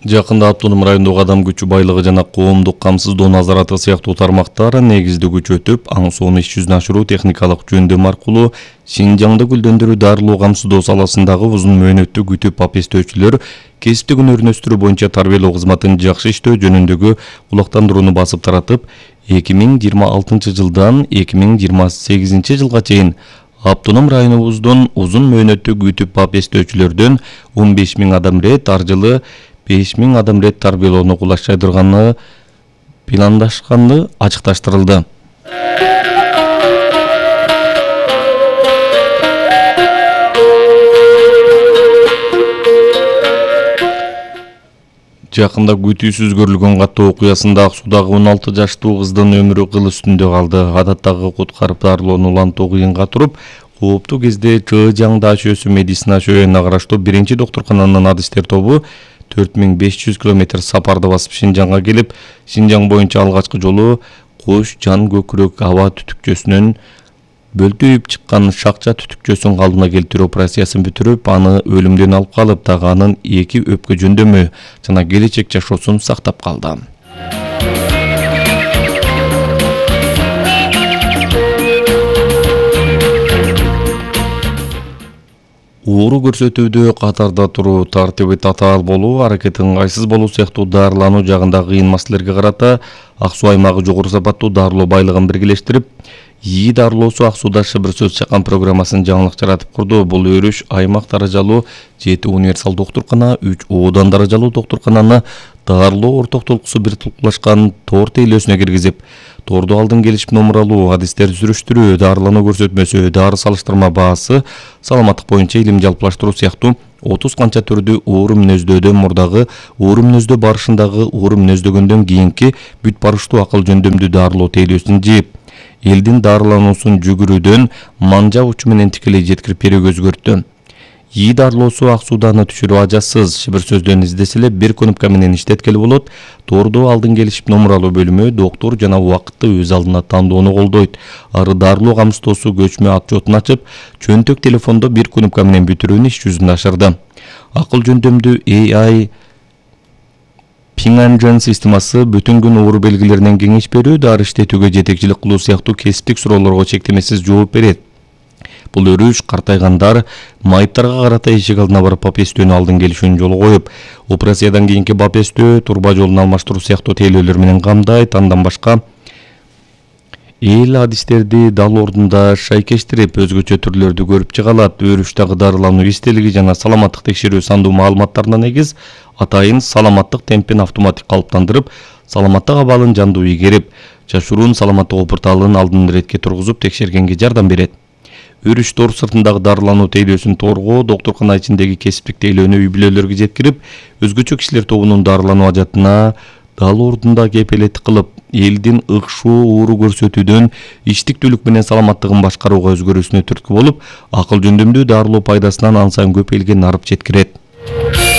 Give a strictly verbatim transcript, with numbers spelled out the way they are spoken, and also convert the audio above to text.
Жакында автоном райондогу адам күчү байлыгы жана коомдук камсыздоо назараты сыяктуу тармактар негизди күч өтүп, аң сонун иш жүзүнө ашыруу техникалык жөндөм аркылуу Шинжаңды гүлдөндүрүү дарылоо камсыздоо саласындагы узун мөөнөттүү күтүп апестөөчүлөр кесиптик өнөрүн өстүрүү боюнча тарбиялоо кызматын жакшы иштөө жөнүндөгү улактандырууну басып таратып, эки миң жыйырма алтынчы жылдан эки миң жыйырма сегизинчи жылга чейин автоном районубуздун узун мөөнөттүү күтүп апестөөчүлөрдөн он беш миң адам рет, ар жылы беш миң адам рет тарбиялоону кулаштайдырганы пландашканы ачыкташтырылды. Жакында күтүүсүз көрүлгөн каттоо окуясында ак суудагы он алты жаштуу кыздын өмүрү кыл үстүндө калды. Адаттагы куткарып дарылоону улантуу кыйынга туруп, кооптуу кезде Чжэжяң даашөсү медицина шөөнүнө караштуу биринчи доктуркананын адистер тобу төрт миң беш жүз километр сапарды басып Шинжаңга келип, Шинжаң боюнча алгачкы жолу Кош жан көкүрөк аба түтүкчөсүнөн бөлтүйүп чыккан шакча түтүкчөсүн калдына келтирүү операциясын бүтүрүп, аны өлүмдөн алып калып, дагы анын эки өпкө жөндөмү жана келечек жашоосун сактап калды. Ууру көрсөтүүдө катарда туруу, тартиби татаал болуу, аракети ыңгайсыз болуу сыяктуу дарылануу жагында кыйын маселелерге карата Ак Суу аймагы жогору сапаттуу дарылоо байлыгын биргелештирип, ИИ дарылоосу Ак Сууда шыбыр сөз чаккан программасын жаңылык жаратып курду. Бул өрүш аймак даражалуу жети универсал доктуркана, үч оодан даражалуу доктуркананы дарылоо орток толкусу бир толкулашкан тор тейлөөсүнө киргизип, торду алдын келишип номер алуу, адистер сүрүштүрүү, дарылануу көрсөтмөсү, дары салыштырма баасы, саламаттык боюнча илим жалпылаштыруу сыяктуу отуз канча түрдүү оору мүнөздөөдөн мурдагы, оору мүнөздөө барышындагы, оору мүнөздөгөндөн кийинки бүт барыштуу акыл жөндөмдүү дарылоо тейлөөсүн жийип, элдин дарылануусун жүгүрүүдөн манжа учу менен тикелей жеткирип берүүгө өзгөрттү. ИИ дарылоосу Ак Сууданы түшүрүү ажасыз, шыбыр сөздөн издесе эле бир кнопка менен иштеткеле болот. Торду алдын келишип номер алуу бөлүмү доктур жана убакытты өз алдына тандоону колдойт. Ары дарылоо камсыздоосу көчмө отчетун ачып, чөнтөк телефондо бир кнопка менен бүтүрүүнү иш жүзүндө ашырды. Акыл жөндөмдүү A I Пиңанжан системасы бүтүн күн оору белгилеринен кеңеш берүү, дары иштетүүгө жетекчилик кылуу сыяктуу кесиптик суроолорго чектемесиз жооп берет. Бул өрүш картайгандар майыптарга карата эшик алдына барып апестөөнү алдын келишүүнү жолго коюп, операциядан кийинки апестөө, турба жолун алмаштыруу сыяктуу тейлөөлөр менен камдайт. Андан башка эл адистерди дал ордунда шайкештирип, өзгөчө түрлөрдү көрүп чыга алат. Өрүштагы дарылануу эстелиги жана саламаттык текшерүү сандуу маалыматтарына негиз атайын саламаттык темпин автоматик калыптандырып, саламаттык абалын жандуу игерип, жашыруун саламаттык порталын алдын иретке тургузуп текшергенге жардам берет. Өрүш тор сыртындагы дарылануу тейлөөсүн торго, доктуркана ичиндеги кесиптик тейлөөнү үй-бүлөлөргө жеткирип, өзгөчө кишилер тобунун дарылануу ажатына дал ордунда кепилеттик кылып, элдин ыкшоо оору көрсөтүүдөн иштиктүүлүк менен саламаттыгын башкарууга өзгөрүүсүнө түрткү болуп, акыл жөндөмдүү дарылоо пайдасынан ан сайын көп элге нарып жеткирет.